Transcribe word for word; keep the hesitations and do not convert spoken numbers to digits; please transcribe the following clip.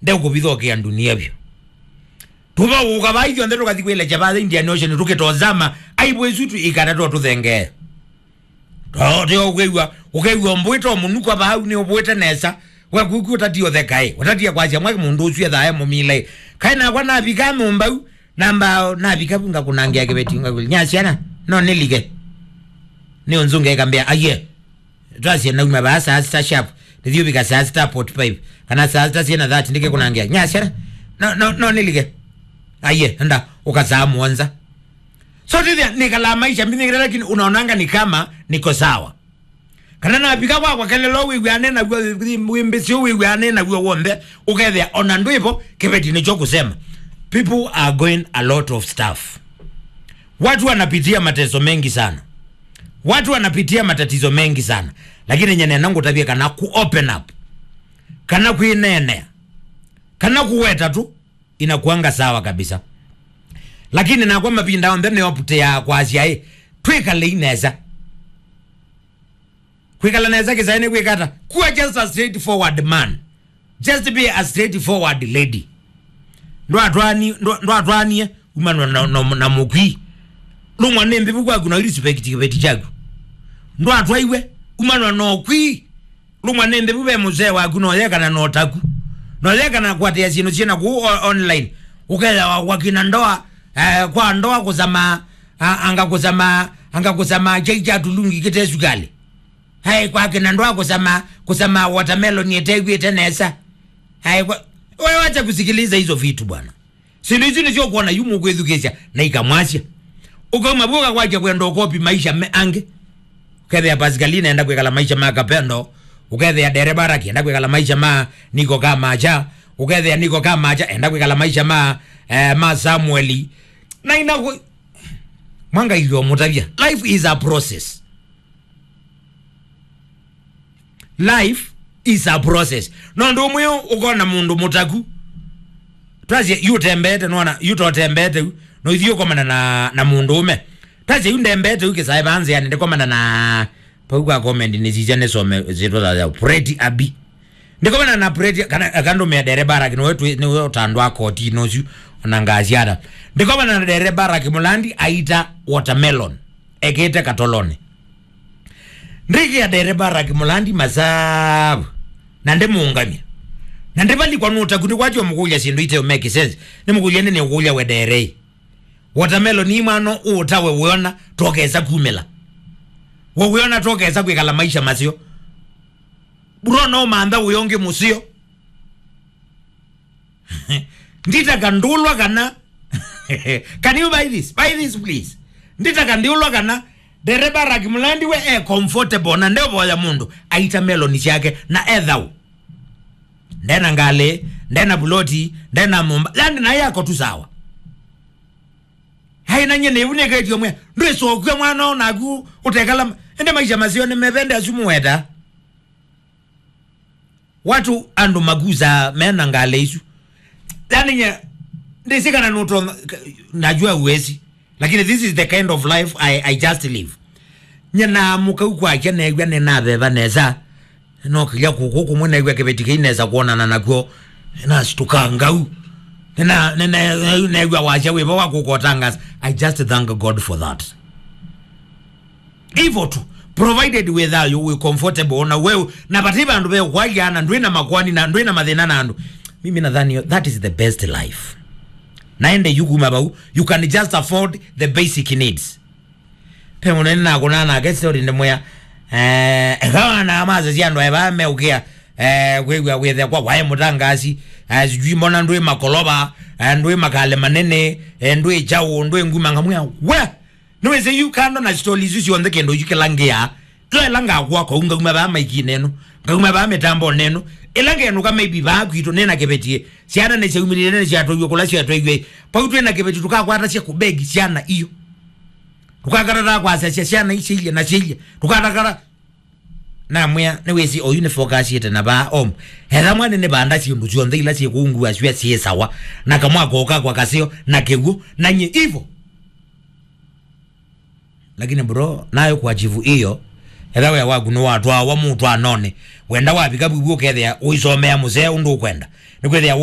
Ndeũkũvithokea ndunia vyũ. Tũvaũũka vaa ithyonthe tũkathi kwĩlekya vaa Indian Ocean tũkĩtozama aibu isu tu ikata tũthengee. Tũteo ũkew'a, ũkew'a ũmbũĩte o mũnukwa vau nĩ ũvũĩte nesa. We kuku ũtatie ũthekaĩ, ũtatie kwasya mwaki mũndũ ũsu ethae mũmile. Kaĩ nakwa navika nyũmba u, namba navika vu ngakũnangĩa kĩveti ngakũlya, "Nya syana, no nĩlike." Nĩ ũnzunge ĩkambĩa, "Aye." Twasye nauma vaa saa sita sharp, ndĩthiũvika saa sita forty-five, kana saa sita syĩna thirty ndĩkĩkũnangĩa, "Nya syana, no, no, no nĩlike." "Aye, enda, ũka saa mũonza." So tithia, nikalaa maisha mbinĩkĩte, lakini unaonanga ni kama niko sawa. Kana navika kwakwa kelelo wĩw'ane naw'o, wĩmbĩsyo wĩw'ane naw'o w'onthe, ũkethĩa ona ndwĩvo, kĩveti nĩkyo kũsema. People are going a lot of stuff. Watu wanapitia mateso mengi sana. Watu wanapitia matatizo mengi sana. Lakini nye nena ngũtavye kana ku open up, kana kwĩneenea, kana kũweta tu, inakuanga sawa kabisa. Lakini nakwa mavinda onthe nĩopũtĩaa kwasya ĩ, twĩkalei nesa. Kwĩkala nesa kĩsaĩ nĩ kwĩka ata? Kuwa just a straightforward man. Just be a straightforward lady. Ndwatwani-, ndwa-, ndwatwanie umanwa na, na, na mũkwii. Lumwa nĩ mbĩvu kwaku na respect kĩveti kyaku. Ndwatwaiwe umanwa na ũkwii. Lumwa nĩ mbĩvu ve mũsee waku, noyekana na ũtaku. Noyekana kũatĩa syĩndũ syĩna kũu o-, online. Ũkethĩa wa-, wakina ndoa, eh, kwa ndoa kũsama, a-, anga kũsama, anga kũsama kyai kya tulungi kĩte sukali. Hai, kwakina ndoa kũsama, kũsama watermelon ĩtew'ĩte nesa. Hai, kwa, wewe wacha kusikiliza hizo vitu bwana. Syĩndũ isu nĩsyo ũkwona yu mũkwĩthukĩĩsya na ikamwasya. Ũkauma vu ũkakwatya kwenda ũkopi maisha me angĩ. Ũkethĩa Pascaline enda kwĩkala maisha ma Kapendo. Ũkethĩa Dereba Raki enda kwĩkala maisha ma Niko Kamacha. Ũkethĩa Niko Kamacha enda kwĩkala maisha ma, eh, ma Samueli. Na ina kũ-, mwangailio mũtavya. Life is a process. Life is a process. No ũndũ ũmwe ũkona mũndũ mũtaku. Twasye, yu ũtembeete, nona, yu totembeete yu. No ithiĩ ũkomana na, na mũndũ ũme. Twasye, yu ndembeete yu kĩsaĩ vaa nzĩanĩ, ndikomana na, pau kwa comment nĩsisya nĩsome syĩtwa ya Pretty Abi. Ndikomana na Pretty, kana, akandũmĩa Dereba Raki, nĩwe twĩ, nĩwe ũtandwa koti nũsu, ona ngasiana. Ndikomana na Dereba Raki Mulandi aita watermelon. Ekĩte katolonĩ. Ndĩkĩa Dereba Raki Mulandi masavu, na ndĩmũũngamya. Na ndĩvalikwa nũtaku, nĩkwatyo mũkũlya syĩndũ ite make sense. Nĩmũkũlya nĩ nĩũkũlya we Derei. Watermelon imwano ũũta we wĩona tokesa kumĩla. We wĩona tokesa kwĩkala maisha maseo. Bro, no mantha ũyonge mũseo. Nditaka ndũlwa kana. Can you buy this? Buy this, please. Nditaka ndiũlwa kana Dereba Raki Mulandi we e comfortable na ndeũvoya mũndũ aita meloni syake na ethau. Ndena ngalĩ, ndena buloti, ndena nyũmba. Yani naye ako tu sawa. Hai na nye nĩvunĩkĩtio mwe. Ndwĩsokua mwana ũnaku ũtekala. Ende maisha maseo nĩ mevende asu mũweta. Watu andũ makusaa mena ngalĩ isu. Yani nye, ndĩsĩ kana nũtonya, najua huwezi. Lakini this is the kind of life I, I just live. Nye naamũka u kwakya neew'a nĩnaveva nesa. Nokĩlya kũkũ kũmwe neew'a kĩveti kĩi nesa kwonana nakw'o. Nĩnasitũka ngau. Nĩna, nĩna, neew'a wasya wĩva wa kũkotangasa. I just thank God for that. Hivyo tu, provided wĩ thayũ, wĩ comfortable, na wewe, na vati vandũ ve kwalya, na ndwĩ na makwani, na ndwĩ na mathĩna na andũ. Mimi nadhani that is the best life. Naende yu kuma vau, you can just afford the basic needs. Pe mũnene nakũnaa nake story ndĩmwĩa, eh, ekawa na maza cia andũ eva meũkĩa, eh, kwĩw'a wĩthekwa wae mũtangasi, eh, sijui mbona ndwĩ makolova, eh, ndwĩ makale manene, eh, ndwĩ chao, ndwĩ nguma ngamwĩa, we! Nĩwĩsĩ yu kando na sitoli isu syonthe kĩndũ isu kĩla ngĩa, yo ĩla ngakũa kũu ngauma vaa maikinĩ ĩno, ngauma vaa mĩtambonĩ ĩno, ĩla ngenũka maybe vaa kwitũ nĩ na kĩveti, syana nĩsyaumĩlile nĩsyatwaiwe kũla syatwaiwe, vau twĩ na kĩveti tũkakwatasya kũbegi syana iyo. Tũkakatata kwasasya syana isyailye na syailye, tũkatakata. Namwĩa, nĩwĩsĩ oyu nĩ focusĩte na vaa om. Etha mwana nĩ vanda syĩndũ syonthe ila syĩ kũu ngua sywa syĩ sawa. Na kamwako kakwa kaseo, na kĩw'ũ, na nye ivo. Lakini bro, nayo kwa chivu iyo, etha wĩa waku nĩwatwawa mũtwanonĩ. Wenda wavika vivu ũkethĩa ũisomea mũsee ũndũ ũkwenda. Nĩkwĩthĩa